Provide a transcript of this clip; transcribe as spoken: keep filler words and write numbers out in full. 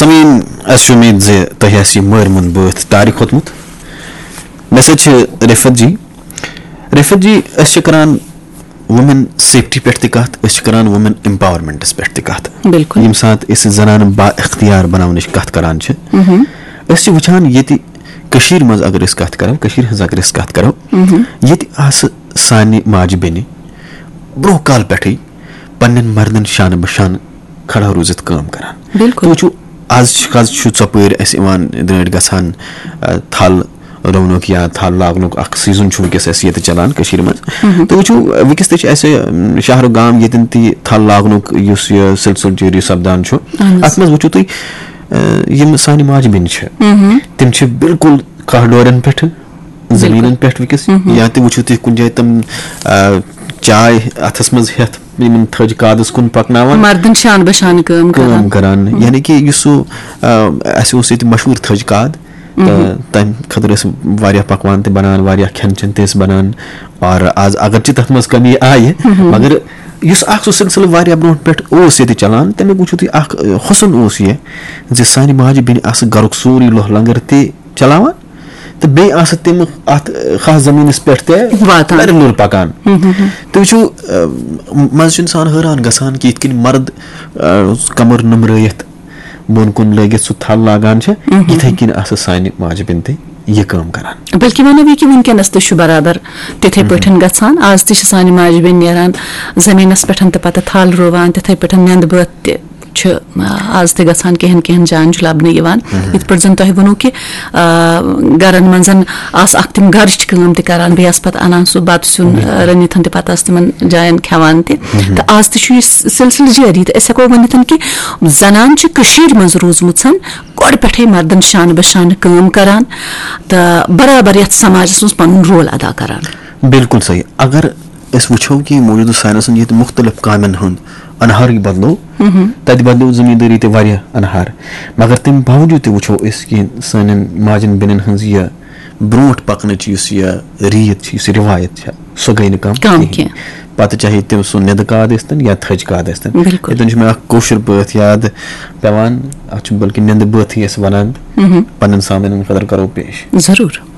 سامعیٖن، اَسہِ چھِ اُمید زِ تۄہہِ آسہِ یہِ مٲرۍ مۄنٛد بٲتھ ٹارِ کھوٚتمُت۔ مےٚ سۭتۍ چھِ رفعت جی۔ رفعت جی، أسۍ چھِ کران وومین سیفٹی پٮ۪ٹھ تہِ کتھ، أسۍ چھِ کران وومین ایمپاورمنٹس پٮ۪ٹھ تہِ کتھ۔ بِلکُل۔ ییٚمہِ ساتہٕ أسۍ زنانہٕ با اختیار بناونٕچ کتھ کران چھِ، أسۍ چھِ وٕچھان ییٚتہِ کٔشیٖرِ منٛز، اگر أسۍ کتھ کرو، کٔشیٖرِ ہٕنٛز اگر أسۍ کتھ کرو، ییٚتہِ آسہٕ سانہِ ماجہِ بیٚنہِ برونٛہہ کال پٮ۪ٹھٕے پننٮ۪ن مردن شانہٕ بہ شانہٕ کھڑا روٗزِتھ کٲم کران۔ بِلکُل۔ تُہۍ وٕچھِو، از چھِ، از چھُ ژۄپٲرۍ اَسہِ یِوان درٛٲنٛٹھۍ گژھان، آ، تھل رُونُک یا تھل لاگنُک اکھ سیزن چھُ وٕنکیٚس اَسہِ ییٚتہِ چلان کٔشیٖرِ منٛز۔ تُہۍ وٕچھِو، وٕنکیٚس تہِ چھِ اَسہِ، اَم، شہر گام ییٚتٮ۪ن تہِ تھل لاگنُک یُس یہِ سلسلہٕ جٲری سپدان چھُ، اَتھ منٛز وٕچھِو تُہۍ، آ، یِم سانہِ ماجہِ بیٚنہِ چھِ، تِم چھِ بِلکُل کاہ ڈورٮ۪ن پٮ۪ٹھ زٔمیٖنَن پٮ۪ٹھ وٕنکیٚس، یا تہِ وٕچھِو تُہۍ کُنہِ جایہِ تِم، آ، چاے اَتھَس منٛز ہٮ۪تھ یِمَن تھٔج کادَس کُن پَکناوان۔ مردن شان بہ شان کٲم کٲم کران۔ کران۔ یعنی کہِ یُس سُہ، آ، اَسہِ اوس ییٚتہِ مشہوٗر تھٔج کاد، تہٕ تَمہِ خٲطرٕ ٲسۍ واریاہ پَکوان تہِ بَنان، واریاہ کھٮ۪ن چٮ۪ن تہِ ٲسۍ بَنان۔ اور آز اگرچہِ تَتھ منٛز کمی آیہِ، مگر یُس اَکھ سُہ سلسلہٕ واریاہ برونٛٹھ پٮ۪ٹھ اوس ییٚتہِ چَلان، تَمیُک وٕچھِو تُہۍ اَکھ، آ، حُسن اوس یہِ زِ سانہِ ماجہِ بیٚنہِ آسہٕ گَرُک سورُے لوہ لنگر تہِ چلاوان تہٕ بیٚیہِ آسہٕ تِم اَتھ، آ، خاص زٔمیٖنَس پٮ۪ٹھ تہِ واتان۔ لَرِ لوٚر پَکان۔ تُہۍ وٕچھِو، آ، منٛزٕ چھُ اِنسان حٲران گژھان کہِ یِتھ کٔنۍ مرد، آ، کمر نُمرٲیِتھ بۄن کُن لٲگِتھ سُہ تھل لاگان چھِ، یِتھَے کٔنۍ آسہٕ سانہِ ماجہِ بیٚنہِ تہِ یہِ کٲم کران۔ بلکہِ وَنو یہِ کہِ وٕنکیٚنَس تہِ چھُ برابر تِتھَے پٲٹھۍ گژھان۔ آز تہِ چھِ سانہِ ماجہِ بیٚنہِ نیران زٔمیٖنَس پٮ۪ٹھ تہٕ پَتہٕ تھل رُوان، تِتھَے پٲٹھۍ نیٚنٛدٕ بٲتھ تہِ چھِ، آ، آز تہِ گژھان، کینٛہَن کینٛہَن جایَن چھُ لَبنہٕ یِوان۔ یِتھ پٲٹھۍ زَن تۄہہِ ووٚنوُ کہِ، آ، گَرَن منٛز آسہٕ اَکھ تِم گَرٕچ کٲم تہِ کَران، بیٚیہِ آسہٕ پَتہٕ اَنان سُہ بَتہٕ سیُن، آ، رٔنِتھ تہِ پَتہٕ آسہٕ تِمَن جایَن کھٮ۪وان تہِ۔ تہٕ آز تہِ چھُ یہِ س-، سِلسِلہٕ جٲری۔ تہٕ أسۍ ہٮ۪کو ؤنِتھ کہِ زَنان چھِ کٔشیٖرِ منٛز روٗزمٕژ گۄڈٕ پٮ۪ٹھَے مَردَن شانہٕ بہ شانہٕ کٲم کَران تہٕ برابر یَتھ سماجَس منٛز پَنُن رول ادا کَران۔ بِلکُل صحیح۔ اگر أسۍ وٕچھو کہِ موجودٕ ساینسن ییٚتہِ مُختٔلِف کامٮ۪ن ہُنٛد اَنہارٕے بدلو، تَتہِ بدلو زٔمیٖندٲری تہِ واریاہ اَنہار۔ مگر تَمہِ باوجوٗد تہِ وٕچھو أسۍ کہِ سانٮ۪ن ماجٮ۪ن بیٚنٮ۪ن ہٕنٛز یہِ برونٛٹھ پَکنٕچ یُس یہِ ریٖت چھِ، یُس یہِ رِوایت چھےٚ، سۄ گٔے نہٕ کَم کَم کِہیٖنۍ۔ کینٛہہ۔ پَتہٕ چاہے تِم سُہ نیٚنٛدٕ کاد ٲسۍتَن یا تھٔج کاد ٲسۍتَن۔ بِلکُل۔ ییٚتٮ۪ن چھُ مےٚ اَکھ کٲشُر بٲتھ یاد پٮ۪وان، اَتھ چھُ بلکہِ نیٚنٛدٕ بٲتھٕے أسۍ وَنان۔ پَنٕنٮ۪ن سامعیٖنَن خٲطرٕ کَرو پیش۔ ضروٗر۔